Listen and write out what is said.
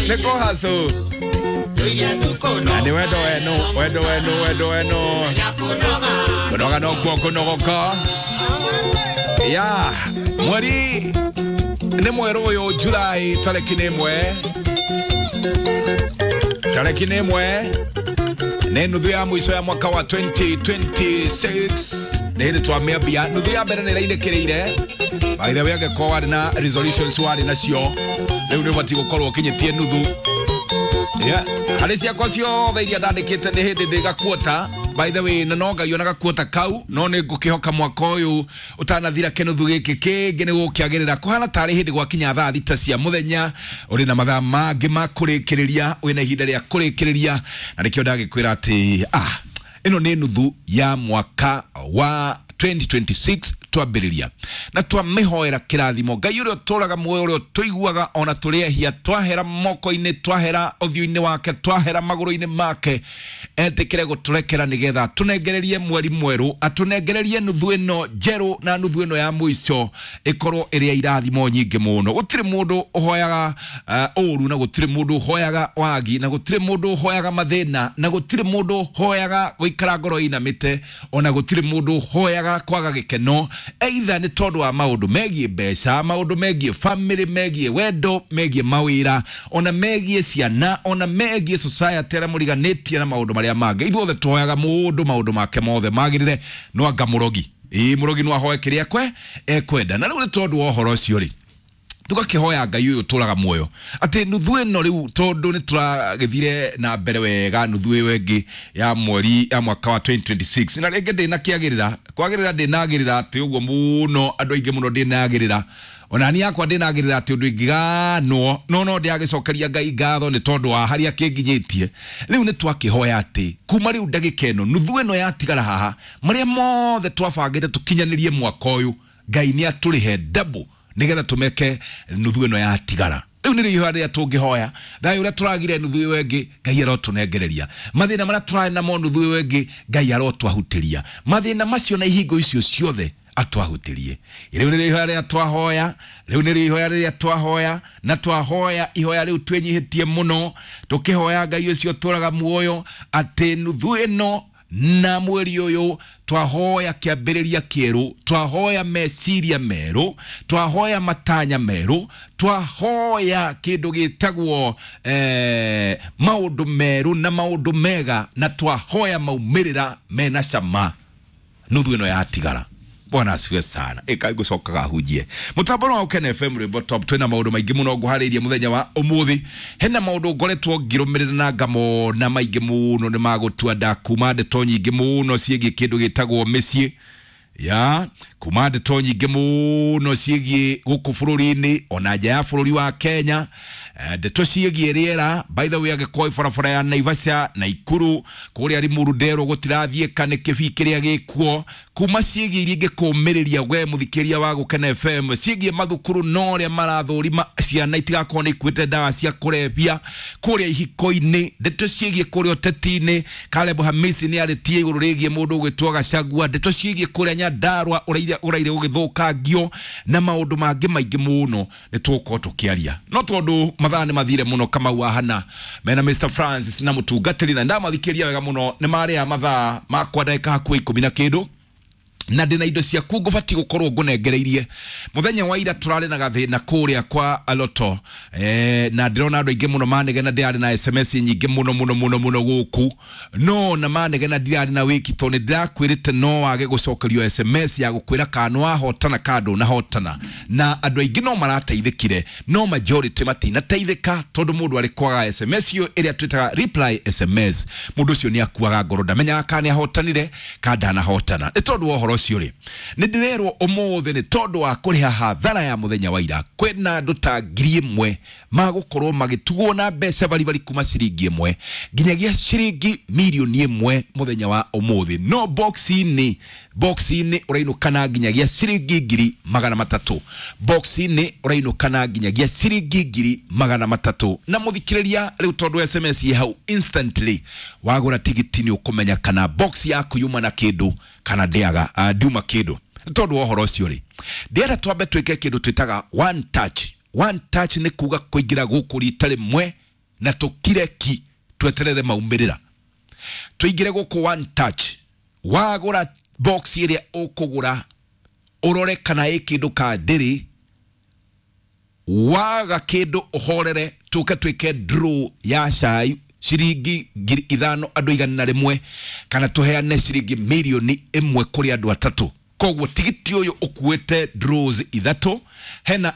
Nĩ kũhacũ na nĩ wendo wenu, wendo wenu, wendo wenu. Kũnoga nokuo kũnogoka ya mweri nĩ mwerũ ũyũ Julai tarĩki nĩ 1, tarĩki nĩ 1, nĩ nuthu ya mũico ya mwaka wa 2026. Nĩ hĩndĩ twamĩambia nuthu ya mbere nĩ ĩrainĩkĩrĩire. By the way, angĩkorwo warĩ na resolutions warĩ nacio, rĩu nĩ ũbatiĩ gũkorwo ũkinyĩtie nuthu. Yeah. Harĩ ciakwa ciothe iria ndandĩkĩte nĩ hĩndĩ ndĩ gakuota, by the way, na no Ngai ona gakuota kau, no nĩ ngũkĩhoka mwaka ũyũ ũtanathira kĩnuthu gĩkĩ kĩngĩ nĩ gũkĩagĩrĩra. Kũhana tarĩ hĩndĩ gwakinya thaa 6 cia mũthenya, ũrĩ na mathaa mangĩ ma kũrĩkĩrĩria, wĩna ihinda rĩa kũrĩkĩrĩria, na nĩkĩo ndagĩkwĩra atĩ ĩno nĩ nuthu ya mwaka wa 2026 twambĩrĩria na twamĩhoera kĩrathimo. Ngai ũrĩa ũtũraga muoyo, ũrĩa ũtũiguaga ona tũrĩ ehia, twahera moko-inĩ, twahera ũthiũ-inĩ wake, twahera magũrũ-inĩ make, etĩkĩre gũtũrekera nĩgetha atũnengererie mweri mwerũ, atũnengererie nuthu ĩno njerũ, na nuthu ĩno ya mũico ĩkorwo ĩrĩ ya irathimo nyingĩ mũno. Gũtirĩ mũndũ ũhoyaga ũru, na gũtirĩ mũndũ ũhoyaga wagi, na gũtirĩ mũndũ ũhoyaga mathĩna, na gũtirĩ mũndũ ũhoyaga gũikara ngoro ĩinamĩte, ona gũtirĩ mũndũ ũhoyaga kwaga gĩkeno, either nĩ tondũ wa maũndũ megiĩ mbeca, maũndũ megiĩ family, megiĩ wendo, megiĩ mawĩra, ona megiĩ ciana, ona megiĩ society arĩa mũriganĩtie na maũndũ marĩa mangĩ. Ithuothe tũhoyaga mũndũ maũndũ make mothe magĩrĩre, no anga mũrogi, ĩĩ, mũrogi no ahoe kĩrĩa kwe ekwenda. Na rĩu nĩ tondũ wa ũhoro ũcio rĩ, tũgakĩhoya Ngai ũyũ ũtũraga muoyo atĩ nuthu ĩno rĩu, tondũ nĩ tũragĩthire na mbere wega nuthu ĩyo ĩngĩ ya mweri ya mwaka wa 2026, na rĩngĩ ndĩnakĩagĩrĩra kwagĩrĩra, ndĩnagĩrĩra atĩ ũguo mũno, andũ aingĩ mũno ndĩnagĩrĩra, ona niĩ yakwa ndĩnagĩrĩra atĩ ũndũ ingĩganwo, no ndĩragĩcokeria Ngai ngatho nĩ tondũ wa harĩa kĩnginyĩtie. Rĩu nĩ twakĩhoya atĩ kuma rĩu ndagĩka ĩno, nuthu ĩno yatigara haha, marĩa mothe twabangĩte tũkinyanĩrie mwaka ũyũ, Ngai nĩ atũrĩhe double nĩgetha tũmeke nuthu ĩno yatigara. Rĩu nĩrĩo ihoya rĩrĩa tũngĩhoya. Thayũ ũrĩa tũragire nuthu ĩyo ĩngĩ, Ngai arotũnengereria. Mathĩna marĩa tũrarĩ namo nuthu ĩyo ĩngĩ, Ngai arotwahutĩria mathĩna macio na ihingo icio ciothe atwahutĩrie. Rĩu nĩrĩo ihoya rĩrĩa twahoya, rĩu nĩrĩo ihoya rĩrĩa twahoya, na twahoya ihoya rĩu twĩnyihĩtie mũno, tũkĩhoya Ngai ũcio ũtũraga muoyo atĩ nuthu ĩno na mweri ũyũ twahoya kĩambĩrĩria kĩerũ, twahoya meciria merũ, twahoya matanya merũ, twahoya kĩndũ gĩtagwo maũndũ merũ na maũndũ mega, na twahoya maumĩrĩra mena cama nuthu ĩno yatigara. Bwana asifiwe sana. Ĩka ngũcokaga hunjie mũtambo wa Ũkene FM, rwĩmbo top. Twĩna maũndũ maingĩ mũno ngũharĩirie mũthenya wa ũmũthĩ. Hena maũndũ ngoretwo ngĩrũmĩrĩra na ngamona maingĩ mũno nĩ magũtua nda, kuma ndeto nyingĩ mũno ciĩgiĩ kĩndũ gĩtagwo mĩciĩ, ya kuma ndeto nyingĩ mũno ciĩgiĩ gũkũ bũrũri-inĩ ona nja ya bũrũri wa Kenya. Ndeto ciĩgiĩ rĩera, by the way, angĩkorwo barabara ya Naivasha na Ikuru kũrĩa Limuru nderwo gũtirathiĩka nĩ kĩbii kĩrĩa gĩkuo, kuma ciĩgiĩ iria ingĩkũmĩrĩria we mũthikĩria wa Gũkena FM, ciĩgiĩ mathukuru no ũrĩa marathũrima ciana itigakorwo nĩ ikuĩte ndawa cia kũrebia, kũrĩa ihiko-inĩ, ndeto ciĩgiĩ kũrĩa ũteti-inĩ, Caleb Hamisi nĩ arĩtie igũrũ rĩgiĩ mũndũ ũgwĩtwo Gachagua, ndeto ciĩgiĩ kũrĩa Nyandarua ũraire gũgĩthũkangio na maũndũ mangĩ maingĩ mũno nĩ tũgũkorwo tũkĩaria. No tondũ mathaa nĩ mathire mũno, Kamau wa Hana mena Mr Francis na mũtungatĩri, na ndamathikĩria wega mũno nĩ marĩa mathaa makwa ndagĩka hakuhĩ 10 na kĩndũ, na ndĩna indo ciaku ngũbatiĩ gũkorwo ngũnengereirie. Mũthenya wa ira tũrarĩ na gathĩna kũrĩa kwa Loto, na ndĩrona andũ aingĩ mũno manegena ndĩrarĩ na SMS nyingĩ mũno mũno mũno mũno gũkũ, no na manegena ndirarĩ na wĩki, tondũ nĩ ndĩrakwĩrĩte no wage gũcokerio SMS ya gũkwĩra kana nĩ wahotana kana ndũnahotana, na andũ aingĩ no marateithĩkire, no majority matinateithĩka, tondũ mũndũ arĩ kwaga SMS ĩyo ĩrĩa twĩtaga reply SMS, mũndũ ũcio nĩ akuaga ngoro, ndamenyaga kana nĩ ahotanire kana ndanahotana. Nĩ tondũ wa ũhoro ũcio rĩ, nĩ ndĩrerwo ũmũthĩ nĩ tondũ wa kũrĩha hathara ya mũthenya wa ira, kwĩna andũ ta 1000 magũkorwo magĩtugwo na mbeca baribari kuma ciringi 1 nginyagia ciringi 1,000,000 mũthenya wa ũmũthĩ. No box-inĩ ũrainũkana nginyagia ciringi 300,000, box-inĩ ũrainũkana nginyagia ciringi 300,000. Na mũthikĩrĩria rĩu, tondũ SMS ĩ hau instantly, wagũra tigiti nĩ ũkũmenya kana box yaku yuma na kĩndũ kana ndĩaga ndiuma kĩndũ. Nĩ tondũ wa ũhoro ũcio rĩ, ndĩrenda twambe twĩke kĩndũ twĩtaga one touch. One touch nĩ kuga kũingĩra gũkũ rita rĩmwe. Na tũkire ki tweterere maumĩrĩra. Tũingĩre gũkũ One Touch, wagũra box ĩrĩa ũkũgũra, ũrore kana ĩ kĩndũ ka ndĩrĩ. Waga kĩndũ, ũhorere, tũke twĩke draw ya cai ciringi 5,000 andũ 101, kana tũheane ciringi 1 mirioni kũrĩ andũ atatũ. Koguo tigiti ũyũ ũkuĩte draws ithatũ hena